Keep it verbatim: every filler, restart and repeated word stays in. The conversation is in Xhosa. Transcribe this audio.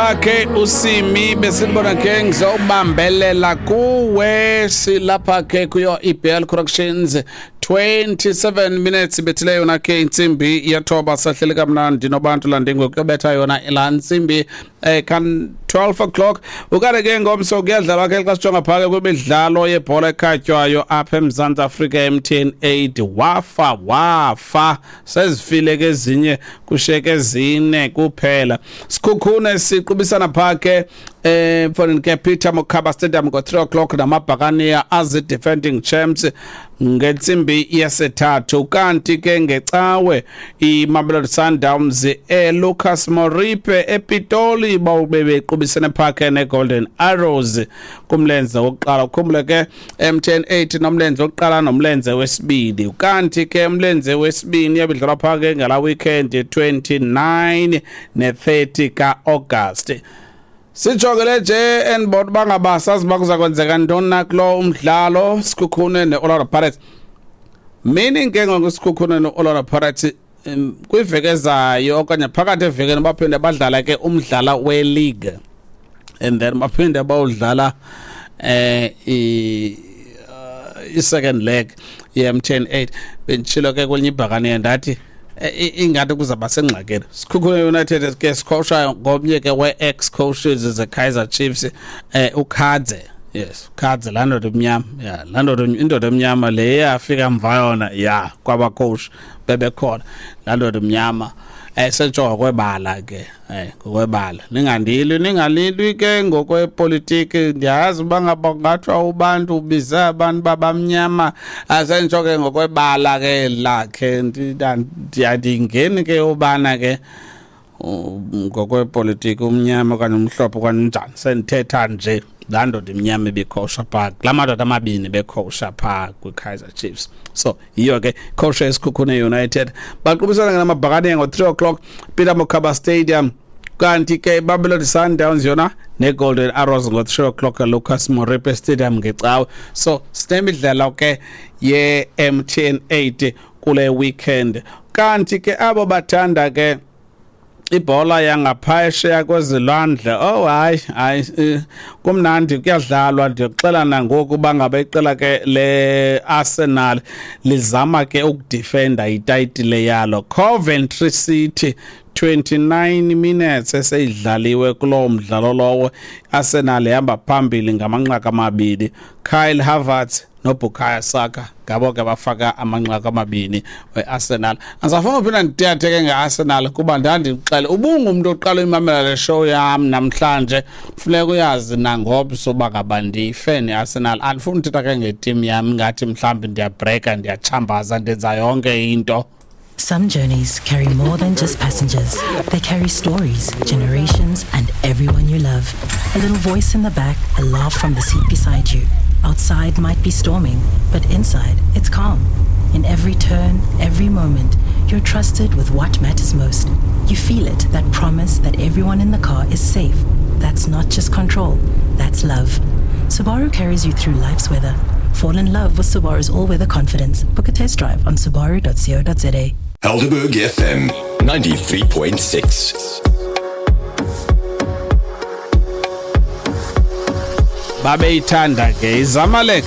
Lapha ke usimi besibona ke ngizobambelela kuwe silapha ke kuyo E B L Corrections twenty-seven minutes bethile yona ke intsimbi yathoba sahlele kamnandi nobantu landingo kuyobetha yona la ntsimbi eh kan twelve o'clock ukare ke ngomso kuyadlalwa ke xa sijonga phaka kwimidlalo yebhola ekhatywayo apha eMzantsi Afrika M T N eight wafa wafa sezifile ke ezinye kusheke ezine kuphela Sikhukhune siqubisana phake eh mfonini ke Peter Mokaba Stadium ngo three o'clock namabhakaniya as the defending champs ngentsimbi yesithathu kanti ke ngecawe iMamelodi Sundowns eLucas Moripe ePitoli bawube bequbisene phake neGolden Arrows kumlenze wokuqala ukhumbule ke M T N eight nomlenze wokuqala nomlenze wesibili kanti ke umlenze wesibini yabidlalwa phake ngala weekend twenty-nine ne thirty ka August. Sijongele nje enibona bangabasazi bakuza kwenzeka ntoni na kulo umdlalo Sikhukhune neOrlando Pirates. Meaning ke ngoku Sikhukhune neOrlando Pirates kwiveki ezayo okanye phakathi evekeni baphinde badlala ke umdlala we-league and then baphinde bawudlala eh i second leg ye-M T N eight benditshilo ke kwelinye ibhakane ndathi ingathi kuzaba sengxakeni. Sikhukhune United ke sikhosha ngomnye ke we-ex coaches ze-Kaizer Chiefs eh uKhadze. Yes, Khadze laa ndoda emnyama. Yeah, laa ndoda indoda emnyama le yafika mva yona ya kwaba coach bebekhona laa ndoda emnyama eh setsho ngokwebala ke eh ngokwebala ningandilwi ningalilwi ke ngokwepolitiki ndiyazi uba ngaba kungathiwa ubantu ubize abantu babamnyama asentsho ke ngokwebala ke lakhe ndiyandingeni ke ubana ke ngokwepolitiki umnyama okanye umhlophe okanye unjani sendithetha nje laa ndoda imnyama ibikhosha phaa kulaa madoda amabini bekhosha phaa kwiKaizer Chiefs. So yiyo ke khosha eSikhukhune United baqubisana ngamabhakane ngo-three o'clock Peter Mokaba Stadium kanti ke Mamelodi Sundowns yona neGolden Arrows ngo-three o'clock Lucas Moripe Stadium ngecawe. So sinemidlalo ke ye-M T N eight kule weekend kanti ke abo bathanda ke ibhola yangaphesheya kwezilwandle oh hayi hayi kumnandi kuyadlalwa ndiyoxela nangoku uba iqela ke le Arsenal lizama ke ukudefenda itayitile yalo. Coventry City twenty-nine minutes eseyidlaliwe kulo mdlalo lowo Arsenal ihamba phambili ngamanqaku amabini. Kyle Havertz noBukayo Saka ngabo ke bafaka amanqaku amabini weArsenal. Andisafuna uphinda ndithethe ke ngeArsenal kuba ndandixele ubungumntu oqala uyimamela le show yam namhlanje funeka uyazi nangomso uba ngaba ndiyifeni iArsenal. Andifuni uthetha ke ngeteam yam ngathi mhlawumbi ndiyabhreka ndiyachambaza ndenza yonke into. Some journeys carry more than just passengers. They carry stories, generations, and everyone you love. A little voice in the back, a laugh from the seat beside you. Outside might be storming, but inside it's calm. In every turn, every moment, you're trusted with what matters most. You feel it, that promise that everyone in the car is safe. That's not just control, that's love. Subaru carries you through life's weather. Fall in love with Subaru's all-weather confidence. Book a test drive on subaru dot co dot za. Helderberg F M ninety-three point six. Babeyithanda ke iZamalek